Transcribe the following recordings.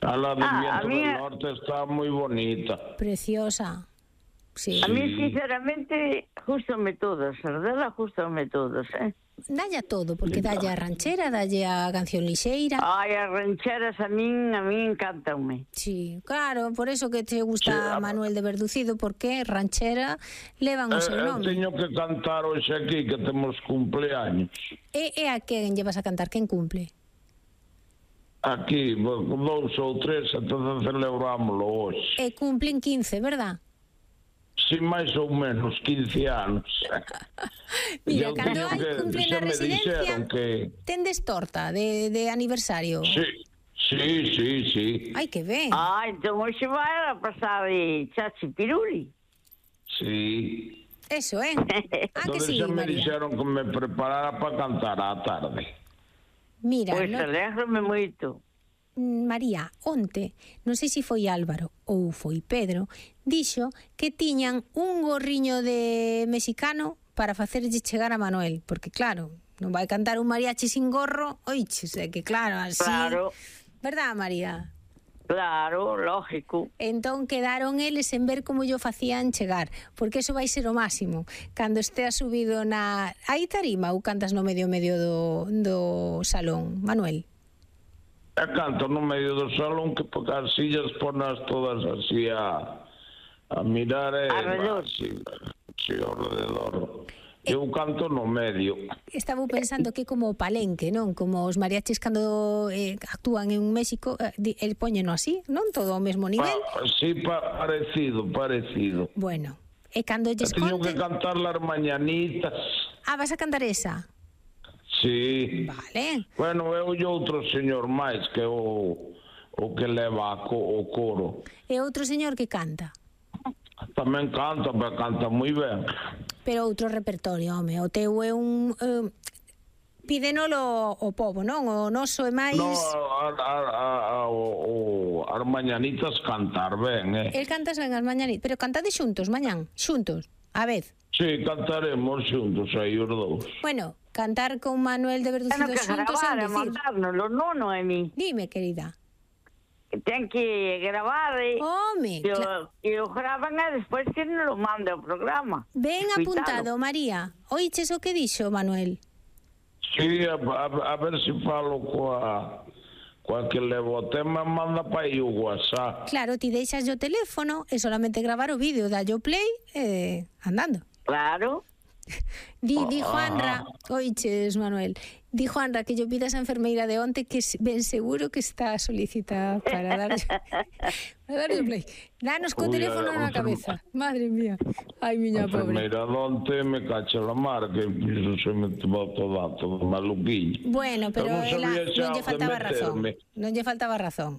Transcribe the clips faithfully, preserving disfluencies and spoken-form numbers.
A la del Ah, Viento a mí- del Norte está muy bonita. Preciosa. Sí. A mí, Sí. sinceramente, gústame todos, verdad, gústame todos, eh? Dalle a todo, porque dalle a ranchera, dalle a canción lixeira. Ai, as rancheras a min, a min encantanme. Sí, claro, por eso que te gusta Sí, a- Manuel de Verducido, porque ranchera levan o seu Eh, eh, nome. teño que cantar hoxe aquí, que temos cumpleaños. E, e a quen llevas a cantar? Quen cumple? Aquí, bo- dous ou tres, entón celebrámoslo hoxe. E cumplen quince, verdad? Si máis ou menos quince anos. Mira, Eu cando teño hai que- cumple xa na me residencia, dixeron que... tendes torta de, de aniversario. Sí, sí, sí, sí. Ai, que ben. Ah, entón hoxe vai a pasar de chachi piruli. Sí. Eso, eh? Ah, que Entón sí, xa me María. dixeron que me preparara para cantar á tarde. Mira, Pois no, alégrame moito. María, onte, non sei se foi Álvaro ou foi Pedro, dixo que tiñan un gorriño de mexicano para facerlle chegar a Manuel, porque claro, non vai cantar un mariachi sin gorro, oiches, é que claro, así... Claro, Verdad, María? claro, lógico. Entón quedaron eles en ver como yo facían chegar, porque eso vai ser o máximo. Cando estea subido na... Aí tarima ou cantas no medio medio do, do salón, Manuel? E canto no medio do salón que porque as sillas ponas todas así a, a mirar e Alrededor. así, así alrededor. Eu canto no medio. Estaba pensando que como o palenque, non? Como os mariachis cando eh, actúan en México, eh, di- el póñeno así, non? Todo ao mesmo nivel. Ah, sí, pa, parecido, parecido. Bueno, e cando lles Teño que conten... cantar las mañanitas. Ah, vas a cantar esa? Sí. Vale. Bueno, eu e outro señor máis que o, o que leva a co, o coro. E outro señor que canta. Tamén canta, pero canta moi ben. Pero outro repertorio, home. O teu é un... Eh, pídenolo o povo, non? O noso é máis... No, a, a, a, a, o, o, as mañanitas cantar ben, eh? El cantas ben as mañanitas, pero cantade xuntos, mañán, xuntos, a vez. Sí, cantaremos xuntos aí os dous. Bueno, cantar con Manuel de Teno Verducido que xuntos é gravar e decir. mandárnoslo, non, non é mi. Dime, querida. Que ten que gravar e... Home, E cla- o, e o gravan e despois que nos lo manda ao programa. ben Coitado. apuntado, María. Oiches o que dixo Manuel? Sí, a, a, a ver se falo coa, coa que levo o tema, manda para aí o WhatsApp. Claro, ti deixas o teléfono e solamente gravar o vídeo, dallo play e andando. Claro. Di, di Ah. Juanra, oiches, Manuel, di Juanra que yo pidas a enfermeira de onte que s- ben seguro que está solicitada para dar para darle play. Danos co Ui, teléfono a- na a cabeza. Madre mía. Ai, miña pobre. Enfermeira donte me cacha la mar, que iso se me boto dato de maluquiño. Bueno, pero Eu non ela sabía xa non lle onde faltaba razón. meterme. Non lle faltaba razón.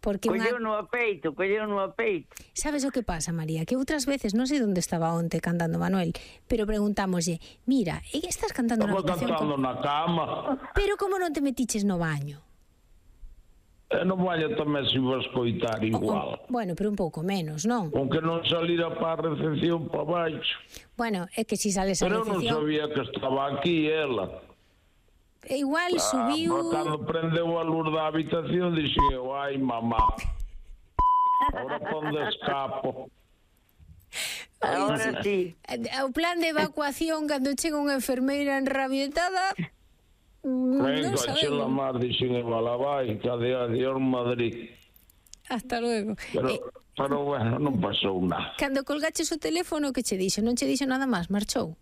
Porque unha... Colleu no apeito, colleu no apeito. Sabes o que pasa, María? Que outras veces, non sei onde estaba onte cantando Manuel, pero preguntámoslle, mira, e estás cantando na Estaba habitación cantando como... na cama. Pero como non te metiches no baño? E no baño tamén se iba a escoitar igual. O- bueno, pero un pouco menos, non? Aunque non salira para a recepción para baixo. Bueno, é que si sales a Pero eu non recepción... sabía que estaba aquí ela. E igual Ah, subiu... pero cando prendeu a luz da habitación, dixen eu, ai mamá, ahora ponde escapo. Ahora sí. O plan de evacuación cando chega unha enfermeira enrabietada... mm, Venga, non chela sabemos. mar, dixen eu, ala vai, cadê adiós Madrid. Hasta luego. Pero, Eh, pero bueno, non pasou nada. cando colgaches o teléfono, que che dixo? Non che dixo nada máis, marchou?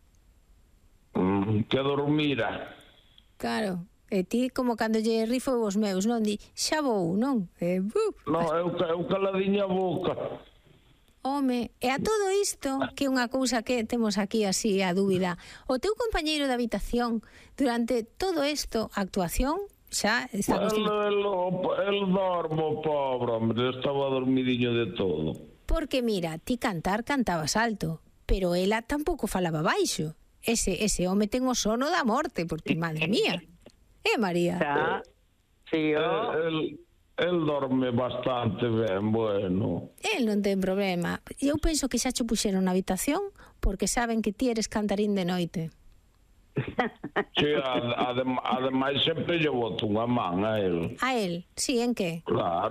Mm, que dormira. Claro. E ti, como cando lle rifo os meus, non? Di, xa vou, non? E, buf, No, eu, eu caladiña a boca. home, e a todo isto, que é unha cousa que temos aquí así a dúbida, o teu compañeiro de habitación, durante todo isto, a actuación, xa está El, acostumado. el, el dormo, pobre, hombre, estaba dormidiño de todo. Porque mira, ti cantar cantabas alto, pero ela tampouco falaba baixo. Ese, ese home ten o sono da morte, porque, madre mía. Eh, María? Xa. Sí, El, o... el, el dorme bastante ben, bueno. El non ten problema. Eu penso que xa cho puxeron na habitación porque saben que ti eres cantarín de noite. Sí, adem, ademais sempre lle boto unha man a el. A el? Sí, en que? Claro,